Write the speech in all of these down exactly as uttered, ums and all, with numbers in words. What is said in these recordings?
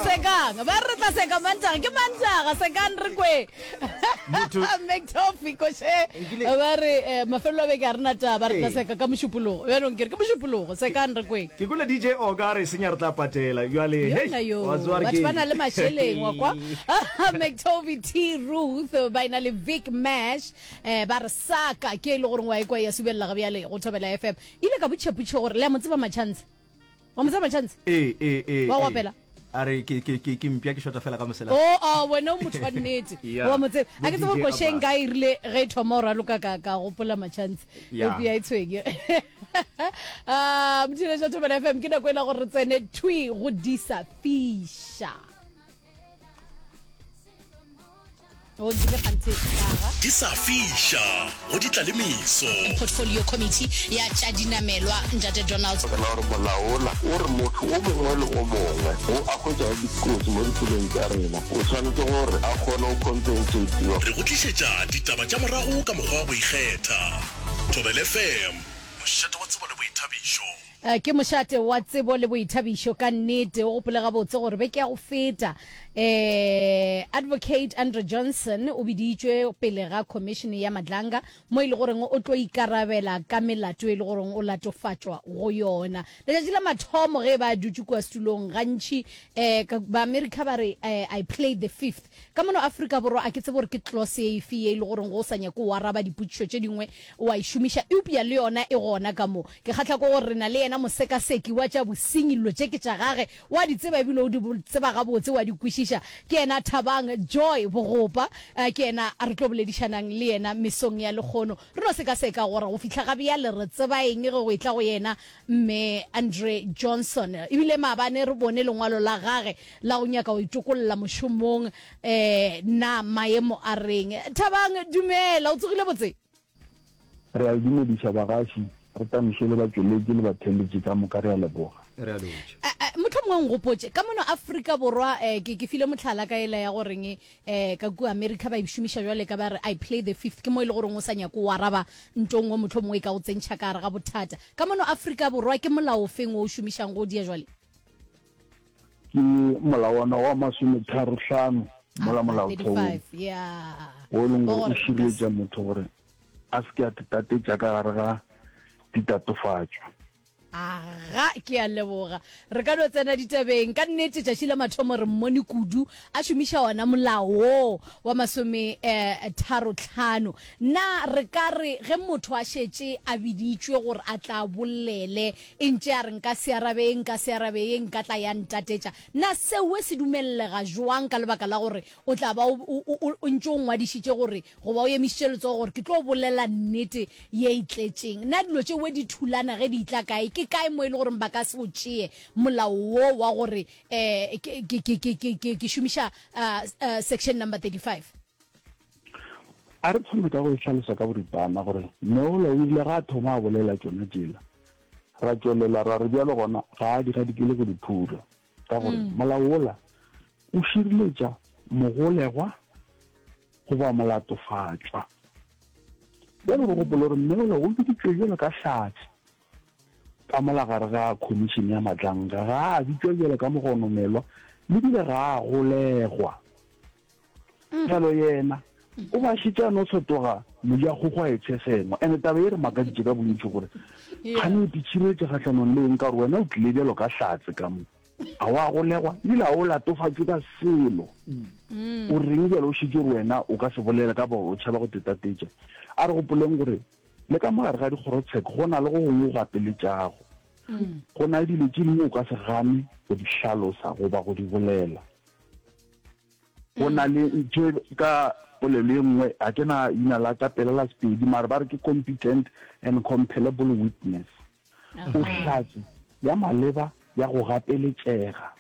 Sekang ba re re tla seka Mantaga, ke Mantaga, sekang re kwe. McToffee koše ba re eh, mafelelo a beke a re na taba, re tla seka ka Mošupologo. Bjanong ke re ke Mošupologo, sekang re kwe. Ke kwele D J Oka a re senya re tla patela. Bjale Yona hei, yo, wa tseba re batho ke ba na le mašeleng wa kwa. McToffee T Ruth ba ena le Vic Mash eh, ba re saka ke e le goreng wa ekwa ya subelela ga bjale go Thobela F M. Ile ka botšha gore le a mo tseba Machance. Wa mo tseba Machance? Ee ee ee. Wa ee. opela? A re ke ke ke ke mpya ke shota fela ka mosela. O a wena o motho wa nnete. Yeah. Wa mo tseba. A ke Bo tsebe gore D J košeng Abbas. ka e rile ge e thoma o raloka ka ka gopola Machance. Yeah. Eupša e tshwenye. Ah, motheeletši wa Thobela F M, ke nako e la gore re tsene thwi go disa fiša. O nkile kganthe aga. Di sa fiša go di tla le meso. Portfolio Committee ya tša dinamelwa Ntate Donald. Ka la gore molao ola o re motho o mongwe le o mongwe wo a hwetšago dikotsi mo ditseleng tša rena o swanetše gore a kgone go compensatiwa. Re go tlišetša ditaba tša morago ka mokgwa wa go ikgetha. Thobela F M, mošate wa tsebo le boithabišo. Eh, ke mošate wa tsebo le boithabišo ka nnete. O gopole gabotse gore beke ya go feta eh, Advocate Andre Johnson o biditšwe pele ga commission ya Madlanga mo e le goreng o tlo ikarabela ka melato e le goreng o latofatšwa go yona. Letšatši la mathomo ge ba dutše kua setulong gantši eh, ka- ba America ba re eh, "I played the fifth." Ka mono Afrika Borwa a ke tsebe gore ke clause e efe ye e le goreng go o sa nyake o araba dipotšišo tše dingwe wa e šomiša, eupša le yona e gona ka mo. Ke kgahla ke gore re na le yena mosekaseki wa tša bosenyi, dilo tše ke tša gage, wa di tseba ebile o di tseba gabotse, wa di kwešiša. Ke yena Thabang Joy Bogopa, eh, ke yena a re tlo boledišanang le yena mesong ya lekgono. Re no sekaseka gore go fihla ga bjale re tseba eng ge go etla go yena mme Andre Johnson. Ebile maabane re bone lengwalo la gage la go nyaka go itokolla mošomong, eh, na maemo a reng. Thabang, dumela, o tsogile botse? Re a le dumediša bagaši, re tamiše le batšweletši le batheeletši ka moka, re a leboga. Re a lotšha. Eh, eh, mohlomongwe nkgopotše ka mono Afrika Borwa, eh, ke ke file mohlala ka ela ya goreng eh, ka kua America ba e šomiša jwale ka ba re "I play the fifth", ke mo e le goreng o sa nyake o araba nto nngwe mohlomongwe e ka go tsentšha ka gare ga bothata. Ka mono Afrika Borwa ke molao o feng o o šomišang go o dia jwale? Ke molawana wa masometharo hlano mola Ah, molaotheong thirty-five, yeah. wo e leng Wa gore o gore nka se šireletša motho gore a se ke a tetatetša ka gare ga ditatofatšo. Aga, ke a leboga. Re ka no tsena ditabeng. Ka nnete tšatši la mathomo re mmone kudu a šomiša ona molao wo wa masome eh, tharo tlhano. Na re ka re ge motho a šetše a biditšwe gore a tla bolele, e ntše a re nka se arabe ye, nka se arabe ye, nka tla ya ntatetša, na seo se dumellega jwang ka lebaka la gore o tla ba o, o, o, o ntše o ngwadišitše gore goba o emišitše letsogo gore ke tlo bolela nnete ye e tletšeng? Na dilo tšeo di thulana ge di tla kae? Ke kae mo e le gore ba ka se o tšee molao wo wa gore eh, ke, ke, ke, ke, ke, ke, ke šomiša uh, uh, section number thirty-five? A re thome ka go e hlalosa ka boripana gore Meola o ile ga a thoma a bolela tšona tšela, ra tšwelela ra re bjalo gona ga a di gadikele go di phura, ka gore molao ola o šireletša mogolegwa goba molatofatšwa. Bjalo re gopole gore Mmeola o biditšwe bjalo ka hlatse ka mola gare ga khomišene ya Madlanga, ga a bitšwa bjalo ka mogonomelwa le bile ga a golegwa. Bjalo yena o ba šetše a no fetoga mojakgokgo a e tshesengwa. Ene taba e re makaditše ka bontši gore kgane o titšhireletše kgahlanong le eng, ka gore wena o tlile bjalo ka hlatse ka mo, a wa golegwa ebile a o latofatšwe ka selo, o reng bjalo o šetše gore wena o ka se bolele ka ba o tšhaba go tetatetša? A re gopoleng gore le ka mogare ga dikgorotsheko go na le go gongwe go gapeletšago, go na le dilo tše dingwe o ka se gane go di hlalosa goba go di bolela. Go na le ntho e ka polelo e nngwe, ga ke na ina la ka pela la Sepedi, mare ba re ke competent and compellable witness, o hlatse ya maleba ya go gapeletšega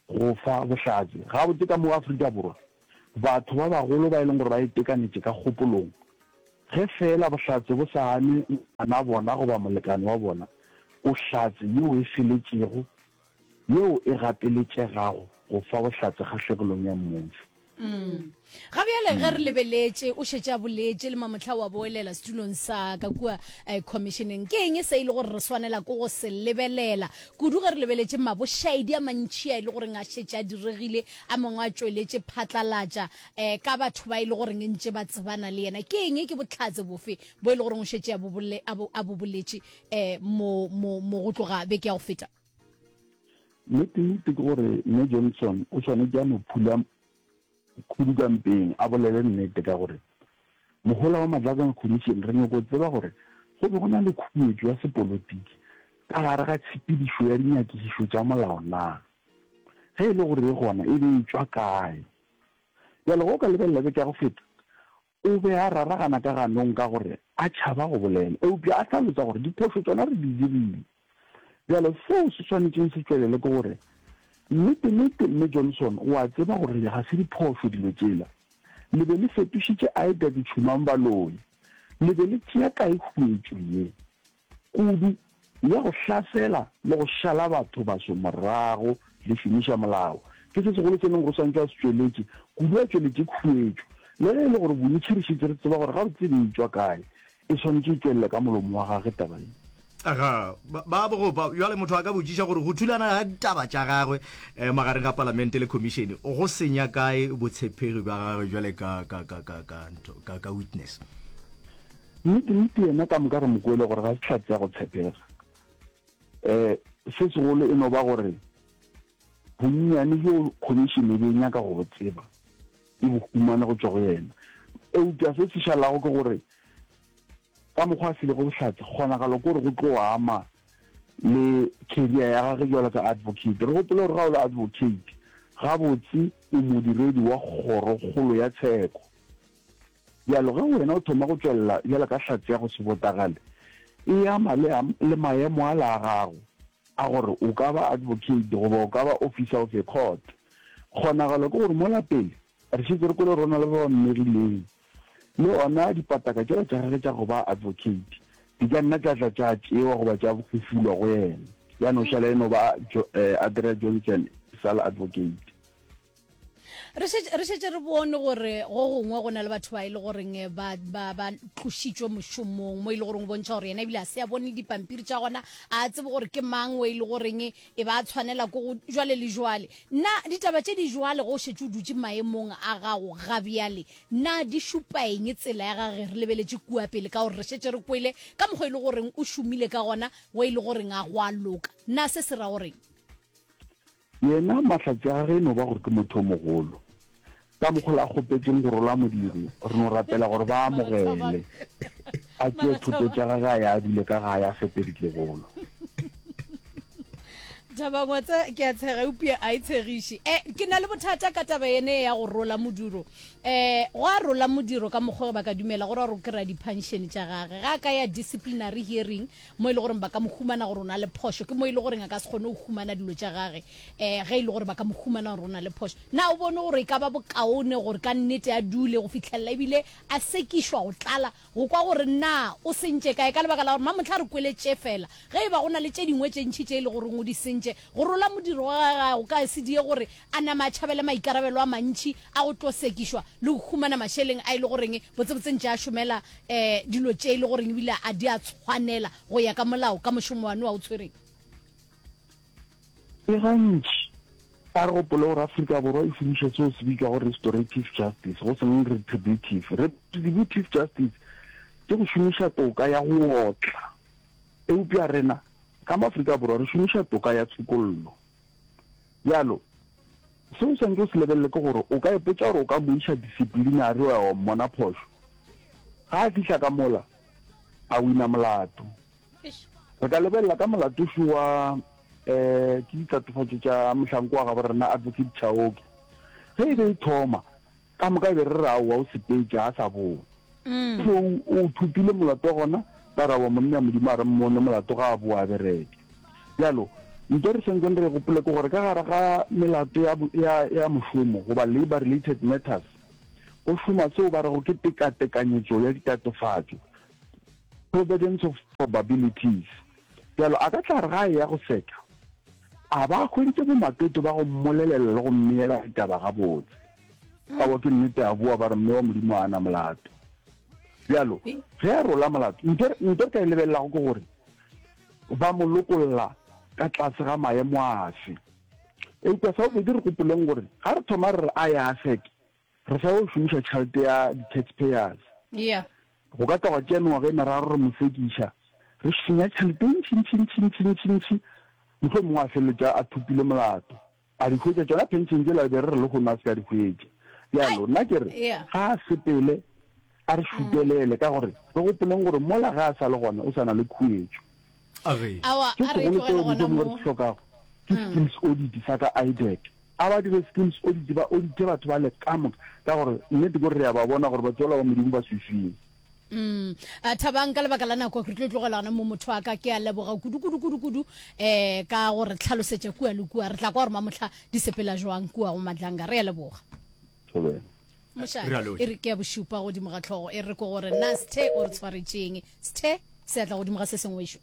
go fa bohlatse. Gabotse ka mo Afrika Borwa batho ba bagolo ba e leng gore ba itekanetše ka kgopolong, ge fela bohlatse bo sa ame ngwana bona goba molekane wa bona, o hlatse yeo e feletšego yeo e gapeletšegago go fa bohlatse kgahlegelong ya mmušo. Ga bjale ge re lebeletše, o šetše a boletše le mamohla wa boelela setulong sa ka kua eh, commissioneng. Ke eng se e le gore re swanela ke go se lebelela kudu ge re lebeletše mabošaedi a mantši a e le goreng a šetše a diregile, a mangwe a tšweletše phatlalatša eh, ka batho ba e le goreng ntše ba tsebana le yena? Ke eng, ke bohlatse bofe bo e le goreng o šetše a bo bole- a bo- a bo boletše eh, mo, mo, mo go tloga beke ya go feta? Nnete-nnete ke gore Mme Johnson o swanetše a no phula khudu ka mpeng a bolele nnete ka gore mohola wa Matlakeng Commission re nyoko tseba gore go be go na le khuetšo ya sepolotiki ka gare ga tshepedišo ya dinyakišišo tša molao na. Ge e le gore e gona e be e tšwa kae. Bjale ge o ka lebelela beke ya go feta o be a raragana ka ganong ka gore a tšhaba go bolela eupša a hlalosa gore diphošo tšona re di dirile. Bjale seo se swanetšeng se tšwelele ke gore nnete-nnete Mme Johnson o a tseba gore ga se diphošo dilo tšela. Le be le fetošitše Ida ditšhumang baloi. Le be le tšea kae khuetšo ye kudu ya go hlasela le go šala batho baso morago le šomiša molao? Ke se segolo se leng gore o swanetše a se tšweletše kudu, a tšweletše khuetšo. Le ge e le gore bontši re šetše re tseba gore gabotse e be e tšwa kae, e swanetše e tšwelele ka molomo wa gagwe taba ye. Aga, ba, ba bogopa. Bjale motho a ka botšiša gore go thulana ga ditaba tša gagwe eh, magareng ga palamente le khomišene go senya kae botshepegi bja gagwe bjale ka, ka, ka, ka, ka, ntho, ka, ka witness. Nnete, nnete yena ka moka re mo kwele gore ga se hlatse ya go tshepega. Um se segolo e no ba gore bonnyane bjo khomišene e be e nyaka go bo tseba e bo humane go tšwa go yena. Eupša se se šalago ke gore ka mokgwa a filego bohlatse, kgonagalo ke gore go tlo ama le career ya gagwe bjalo ka advocate. Re gopole gore ga o le advocate, gabotse o modiredi wa kgorokgolo ya tsheko. Bjalo ge wena o thoma go tšwelela bjalo ka hlatse ya go se botagale, e ama le, le maemo ala a gago a gore o ka ba advocate goba o ka ba officer of a court. Kgonagalo ke gore mola pele re šetše re kwele gore go na le ba ba mmegileng, le ona dipataka tšela tša gagwe tša go ba advocate di ka nna tša tla tša tšewa goba tša hufulwa go yena, ya no šala e no ba Adria Johnson e sa le advocate. Re šetše, re šetše re bone gore go gongwe go na le batho ba e le goreng ba, ba, ba tlošitšwe mošomong, mo e le goreng o bontšha gore yena ebile a se a bone le dipampiri tša gona, a tsebe gore ke mang o e le goreng e ba tshwanela ko go jwale le jwale. Na ditaba tše di jwale ge o šetše o dutše maemong a gago ga bjale, na di šupa eng tsela ya gage re lebeletše kua pele, ka gore re šetše re kwele ka mokgwa e le goreng o šomile ka gona, go e le goreng a go a loka? Na se se ra goreng? Yena mahlatse a gagwe e no ba gore ke motho o mogolo. Ka mokgwa la kgopetšeng go rola modiro, re no rapela gore ba amogele. A tšee thoto tša gagwe a ye a dule ka gae a fepe ditlogolo. Thabang, wa tseba ke a tshega eupša a e tshegiše. Eh, ke na le bothata ka taba yene ya go rola modiro. Eh, go a rola modiro ka mokgwa ba ka dumela gore gore o kry-a di-pension tša gage. Ga a ka ya disciplinary hearing, mo e le goreng ba ka mo humana gore o na le phošo, ke mo e le goreng a ka se kgone go humana dilo tša gage, um ge e le gore ba ka mo humana gore o na le phošo. Na o bone gore e ka ba bokaone gore ka nnete a dule go fihlelela ebile a sekišwa go tlala go kwa gore na o sentše kae, ka lebaka la gore mamohla re kwele tše fela, ge e ba go na le tše dingwe tše ntši tše e le goreng o di sentše, go rola modiro wa gagwe go ka se die gore a nama a tšhabele maikarabelo a mantši a go tlo sekišwa le go humana mašeleng a e le goreng botsebotse ntše a šomela um dilo tše e le goreng ebile a di a tshwanela go ya ka molao ka mošomo wa a o tshwereng? Ke gantši a re gopole gore Afrika Borwa e šomiša seo se bitšwago restorative justice, go seng retributive. Retributive justice ke go šomiša toka ya go otla, eupša rena ka mo Afrika Borwa re šomiša toka ya tshokollo. Bjalo, seo o swanetše o se lebelele ke gore o ka ipotša gore o ka mo iša disciplinary wa ya wa mmona phošo. Ga a fihla ka mola, a wina molato. Re ka lebelela ka molatošo wa um ke ditatofatšo tša mohlanko wa gabo rena Advocate Chauke. Ge e be e thoma, ka moka e be re re aowa o sepetše, a sa boa. So o thopile molato wa gona, ba re aowa monna Modimo a re mmone molato ga a boa a bereke. Bjalo, nto re swanetseng re e gopole ke gore ka gare ga melato ya, ya, ya mošomo goba labour related matters, go šoma seo ba rego ke tekatekanyetšo ya ditatofatšo, providence of probabilities. Bjalo a ka tla re ga a eya go seka, a ba a hweditše bomaketo ba go mmolelela le go mmeela ditaba gabotse. Aowa, ke nnete, a boa ba re mme wa Modimo ga a na molato. Bjalo, ge a rola molato, ntho ntho re ka e lebelelago ke gore ba mo lokolla ka tlase ga maemo afe. Eupša sa bobedi re gopoleng gore ga re thoma re re a ye a seke, re sa yo šomiša tšhelete ya di-taxpayers. Yeah. Go ka tla gwa tšea mengwaga e meraro re mo sekiša, re senya tšhelete e ntši ntši ntši ntši ntši ntši, mohlomongwe a feleletša a thopile molato. A di hwetša tšona pension tšela be re re lehono a se ka di hwetša. Bjalo nna ke re ga a sepele a re šutelele ka gore re gopoleng gore mola ge a sa le gona o sa na le khuetšo. Se segolo seo mohlomongwe re se hlokago ke skills audit sa ka IDAC. A ba dire skills audit ba audite batho bale ka moka ka gore nnete ke gore re a ba bona gore batho bala ba Modimo ba swiswing. Mm. Uh, Thabang, ka lebaka la nako re tlo tlogela gona mo motho wa ka. Ke a leboga kudu kudu kudu kudu eh ka gore tlhalosetša kua le kua. Re tla kwa gore mamohla di sepela jwang kua go Madlanga. Re a leboga. Thobela. Mošate, Re a lotšha. e re ke ya bošupa godimo ga tlhogo e re ko gore na Sthe o re tshwaretšeng. Sthe, seatla godimo ga se sengwe wešo.